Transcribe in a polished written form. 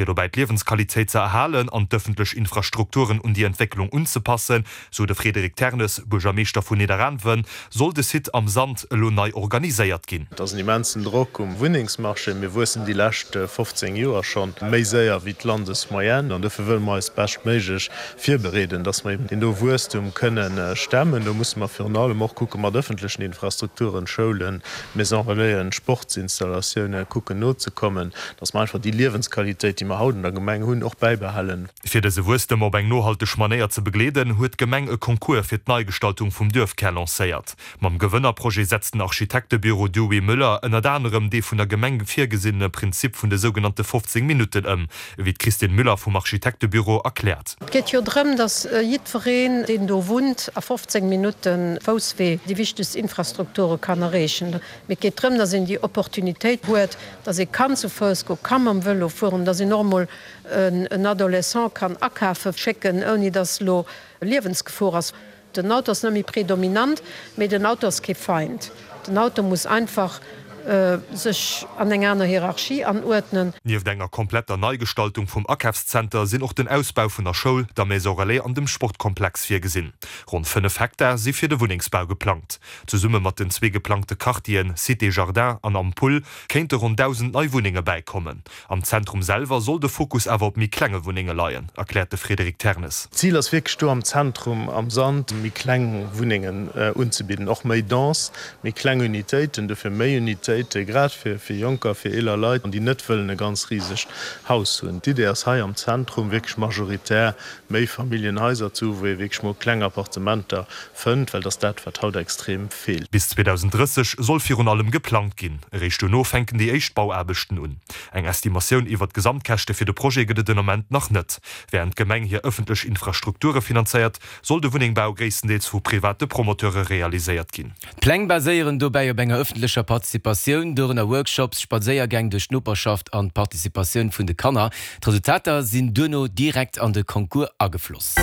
Fir dobäi d'Liewensqualitéit ze erhalen an d'ëffentlech Infrastrukturen un déi Entwécklung unzepassen, sou de Frédéric Ternes, Buergermeeschter vun Nidderaanwen, soll de Site Am Sand elo nei organiséiert ginn. Et ass en immensen Drock um Wunnengsmarché. Mir wuessen déi lescht 15 Joer schonn méi séier wéi d'Landesmoyenne an dofir wëlle mer eis beschtméiglech virbereeden, dass mer eben deen do Wuesstum kënnen stemmen. Do musse mer virun allem och kucke mat ëffentlechen Infrastrukturen, Schoulen, Maisons relaisen, Sportsinstallatiounen, kucken nozekommen, dass mer einfach déi Liewensqualitéit, déi mer haut an der Gemeng hunn, och bäibehalen. Fir dëse Wuesstem op eng nohalteg Manéier ze begleeden, huet d'Gemeng e Concours fir d'Neigestaltung vum Duerfkär lancéiert. Mam Gewënnerprojet setzt den Architektebüro Dewey Müller ënnert anerem dee vun der Gemeng virgesinnene Prinzip vun de sougenannte 15 Minutten ëm, ewéi d'Christine Müller vum Architektebüro erkläert. Et geet jo drëm, datt jiddwereen, deen do wunnt, a 15 Minutte Fousswee déi wichtegst Infrastrukture kann erreechen. Mee et geet drëm, datt een déi Opportunitéit huet, datt ee kann zu Fouss goen, ka mam Vëlo fueren, datt een och emol en Adolescent kann akafe schécken, ouni datt elo Liewensgefor ass. Den Auto ass net méi predominant, mee den Auto ass kee Feind. Den Auto muss einfach sech an eng aner Hierarchie anuerdnen. Nieft enger kompletter Neigestaltung vum Akafszenter sinn och den Ausbau vun der Schoul, der Maison Relais an dem Sportkomplex virgesinn. Ronn 5 Hektar si fir de Wunnengsbau geplangt. Zesumme mat den zwee geplangte Quartieren Cité Jardin an Am Pull kéinte ronn 1.000 nei Wunnenge bäikommen. Am Zentrum selwer soll de Fokus awer op méi klenge Wunnenge leien, erkläert de Frédéric Ternes. D'Zil ass wierklech do am Zentrum am Sand méi kleng Wunnengen unzebidden, och méi dense, méi kleng Unitéiten, dofir méi Unitéite grad fir Jonker, fir eeler Leit, déi net wëllen e ganz risegt Haus hunn. D'Idee ass hei am Zentrum wierklech majoritär Méifamilljenhaiser ze hu wou ee wierklech mol kleng Appartementer fënnt, well et ass dat, wat haut extrem feelt. Bis 2030 soll virun allem geplangt ginn. Eréischt duerno fänken déi éischt Bauaarbechten un. Eng Estimatioun iwwert d'Gesamtkäschte fir de Projet gëtt et den Ament nach net. Wärend d'Gemeng hir ëffentlech Infrastrukture finanzéiert, soll de Wunnéngbau gréisstendeels vu private Promoteure realiséiert ginn. D'Pläng baséieren dobäi op enger ëffentlecher Participatioun, dorënner Workshops, Spadséiergäng duerch d'Noperschaft an d'Participatioun vun de Kanner. D'Resultater sinn duerno direkt an de Concours agefloss.